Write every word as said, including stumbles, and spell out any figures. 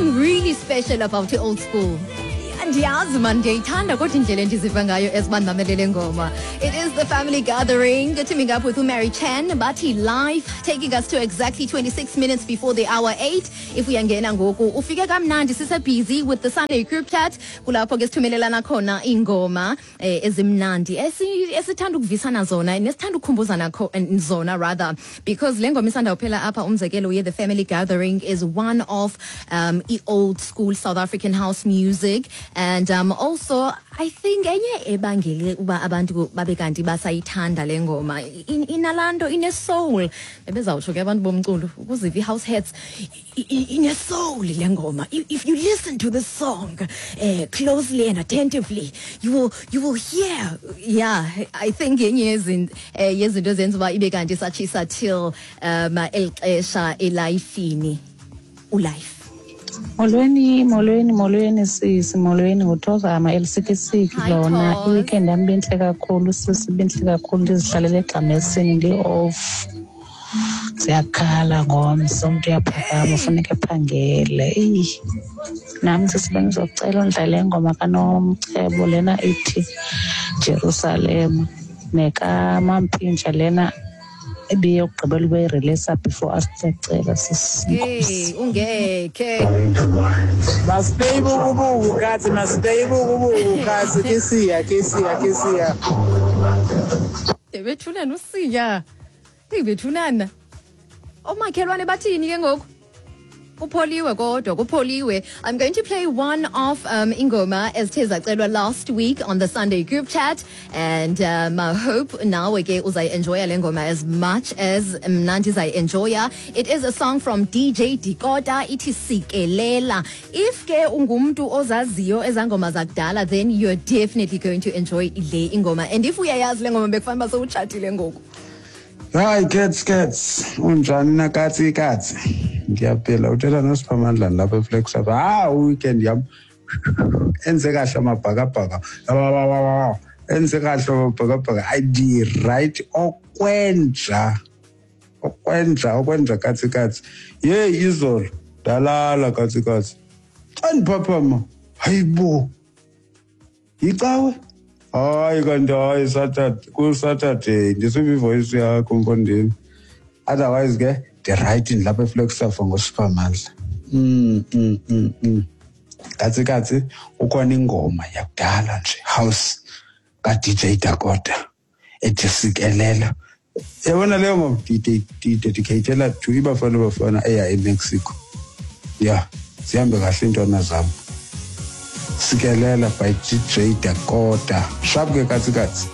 something really special about the old school. Andiyazi man, ndiyayithanda kodwa indlela endiziva ngayo as uba ndimamele le ngoma. It is The Family Gathering, teaming up with uMary Chan, bathi "Life", taking us to exactly twenty-six minutes before the hour eight. If uyangena ngoku, ufike kamnandi, sise-busy with the Sunday group chat, kulapho ke sithumelelana khona iingoma eh, ezimnandi esi- esithanda ukuvisana zona nesithanda ukukhumbuzana kho- eh, zona rather, because le ngoma isanda kuphela apha, umzekelo ye The Family Gathering, is one of um, i-old school South African house music. And um, also I think enye ebangele uba abantu babe kanti basayithanda le ngoma, in- inalaa nto ine-soul, bebezawutsho ke abantu bomculo ukuziva i-house heads, i- i- ine-soul le ngoma. If if you listen to this song uh, closely and attentively, you will you will hear. Yeah, I think yenye yezin- eh, yezinto ezenza uba ibe kanti satshisa till um eli xesha elayifini ulife. Molweni, molweni, molweni sisi, molweni, nguThozama elisikisiki Hi, lona. Thoz. I-weekend yam ibintle kakhulu sisi, ibintle kakhulu, ndizihlalele egxamesini, ndi-off. Ziyakhala ngomso, umntu uyaphakama funeka ephangele. Eyi, nam sisi bendizocela undlale ingoma kaNomcebo lena ithi Jerusalem nekaMampintsha lena ebiyokugqibela ubeyireleasa before asicela sisi. Hey, ungekhe. Masiphe ibukubuku kathi, masiphe ibukubuku kathi, kisiya kisiya kisiya. Bethunana usiya, eyi bethunana, oomakhelwane bathini ke ngoku? Kupholiwe kodwa, kupholiwe. I'm going to play one of um, ingoma ezithe zacelwa last week on the Sunday group chat, and um, I hope nawe ke uzayi-enjoya le ngoma as much as mna ndizayi-enjoya. It is a song from D J Dakota, ithi "Sikelela". If ke ungumntu ozaziyo ezaa ngoma zakudala, then you're definitely going to enjoy le ingoma, and if uyayazi le ngoma, bekufanele uba sowutshatile ngoku. Hayi cats cats, unjani na katsi katsi? Ngiyaphila, uthetha noSiphamandla lapha eFlagstaff. Ah, weekend yam enze kahle amabhakabhaka, enze kahle amabhakabhaka, andi-right okwenja okwenja okwenja katsi katsi. Yeyi, izolo ndalala katsi katsi, xa ndiphaphama, hayibo, yicawe. Hayi kanti hayi, Saturday, kuSaturday ndisiva ivoice yakho mfondini. Otherwise ke ndirayithi, ndilapha eFlagstaff ngoSiphamandla. mm, mm, mm, mm. katsi katsi, ukhona ingoma yakudala nje, house, ka-D J Dakota ethi "Sikelela". Yabona leyo ngoma ndiyidedicatela to iBafana Bafana eya eMexico. Ya, zihambe kahle iintwana zam. "Sikelela" by D J Dakota. Sharp ke katsi katsi.